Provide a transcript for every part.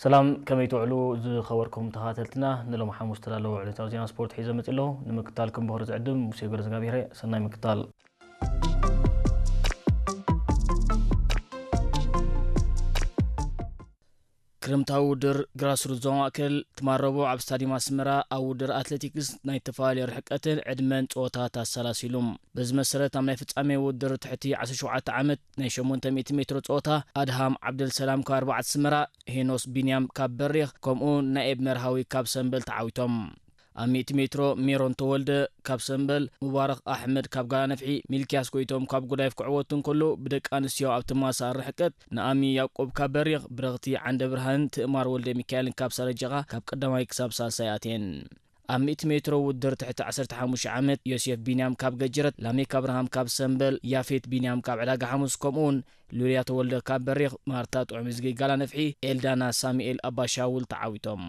ሰላም፣ ከመይ ትውዕሉ ዝኸበርኩም ተኸታተልትና? ንሎም ሓሙስ ተዳለዉ ዕለታዊ ዜና ስፖርት ሒዘ መጺእ ኣለኹ። ንምክታልኩም ብኽብሪ ዝዕድም ሙሴ ገብረዝጋብሄር። ሰናይ ምክታል። ክረምታዊ ውድር ግራስሩት ዞባ ማእከል ትማል ረቡዕ ኣብ ስታዲየም ኣስመራ ኣብ ውድር ኣትሌቲክስ ናይ ዝተፈላለዩ ርሕቀትን ዕድመን ጸወታት ኣሰላሲሉ። በዚ መሰረት ኣብ ናይ ፍጻሜ ውድር ትሕቲ ዓሰርተ ሸውዓተ ዓመት ናይ ሸሞንተ ሚእቲ ሜትሮ ጸወታ ኣድሃም ዓብደልሰላም ካብ ኣርባዕተ ኣስመራ፣ ሄኖስ ቢንያም ካብ በሪኽ ከምኡ ናኤብ መርሃዊ ካብ ሰምበል ተዓዊቶም። ኣብ ሚእቲ ሜትሮ ሜሮን ተወልደ ካብ ሰምበል፣ ሙባረኽ ኣሕመድ ካብ ጋላነፍሒ፣ ሚልክያስ ጎይቶም ካብ ጎዳይፍ ክዕወቱ እንከሎ፣ ብደቂ ኣንስትዮ ኣብ ተመሳሳሊ ርሕቀት ንኣሚ ያዕቆብ ካብ በሪኽ፣ ብረኽቲ ዓንደ ብርሃንን ትእማር ወልደ ሚካኤልን ካብ ሳረጀኻ ካብ ቀዳማይ ክሳብ ሳልሳይ ኣትየን። ኣብ ሚእቲ ሜትሮ ውድር ትሕቲ ዓሰርተ ሓሙሽተ ዓመት ዮሴፍ ቢንያም ካብ ገጀረት፣ ላሜክ ኣብርሃም ካብ ሰምበል፣ ያፌት ቢንያም ካብ ዕዳጋ ሓሙስ ከምኡውን ሉልያ ተወልደ ካብ በሪኽ፣ ማርታ ጥዑም ዝጊ ጋላነፍሒ፣ ኤልዳና ሳሙኤል ኣባሻውል ተዓዊቶም።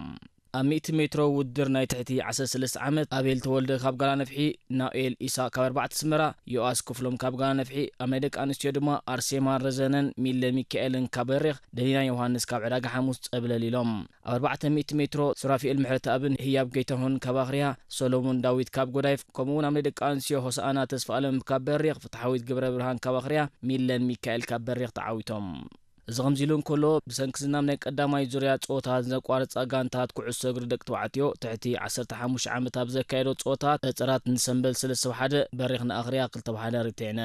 ኣብ ሚእቲ ሜትሮ ውድር ናይ ትሕቲ ዓሰርተ ሰለስተ ዓመት ኣቤል ተወልደ ካብ ጋላነፍሒ፣ ናኡኤል ኢሳቅ ካብ ኣርባዕተ ኣስመራ፣ ዮኣስ ክፍሎም ካብ ጋላነፍሒ፣ ኣብ ናይ ደቂ ኣንስትዮ ድማ ኣርሴማ ረዘነን ሚለ ሚካኤልን ካብ በሪኽ፣ ደሊና ዮሃንስ ካብ ዕዳጋ ሓሙስ ጸብለል ኢሎም። ኣብ ኣርባዕተ ሚእቲ ሜትሮ ሱራፊኤል ምሕረተኣብን ህያብ ጌታሁን ካብ ኣኽርያ፣ ሶሎሞን ዳዊት ካብ ጎዳይፍ፣ ከምኡውን ኣብ ናይ ደቂ ኣንስትዮ ሆሳኣና ተስፋኣለም ካብ በሪኽ፣ ፍትሓዊት ገብረ ብርሃን ካብ ኣኽርያ፣ ሚለን ሚካኤል ካብ በሪኽ ተዓዊቶም። እዚ ከምዚ ኢሉ እንከሎ፣ ብሰንኪ ዝናብ ናይ ቀዳማይ ዙርያ ጸወታ ዘቋረጻ ጋንታት ኩዕሶ እግሪ ደቂ ተባዕትዮ ትሕቲ ዓሰርተ ሓሙሽተ ዓመት ኣብ ዘካየዶ ጸወታ፣ ጸጸራት ንሰምበል ሰለስተ ብ ሓደ፣ በሪኽ ንኣኽርያ ክልተ ብ ሓደ ርቲዕነን።